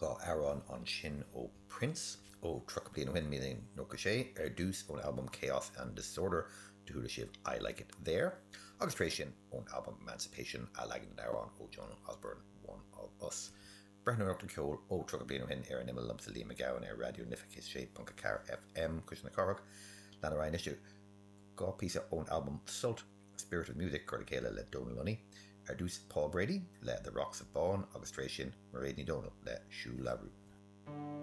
2 amhrán ansin ó Prince ó 30 bliain ó shin, 1996, ar dtús ón albam Chaos and Disorder, do chuala sibh I Like It There, agus tar éis sin ón albam Emancipation, athleagan den amhrán ó Joan Osborne, One of Us. Breathnóireacht ar cheol ó 30 bliain ó shin ar an Imeall liomsa Liam Mac Gabhann ar Raidió na Life 106.4 FM, Cuisle na Cathrach. Lean ar aghaidh anois le 2 phíosa ón albam Sult. Spirit of Music curtha le chéile le Dónal Lunny, ar dtús Paul Brady le The Rocks of Bawn agus tar éis sin Mairéad Ní Dhomhnaill le Siúil le Rún.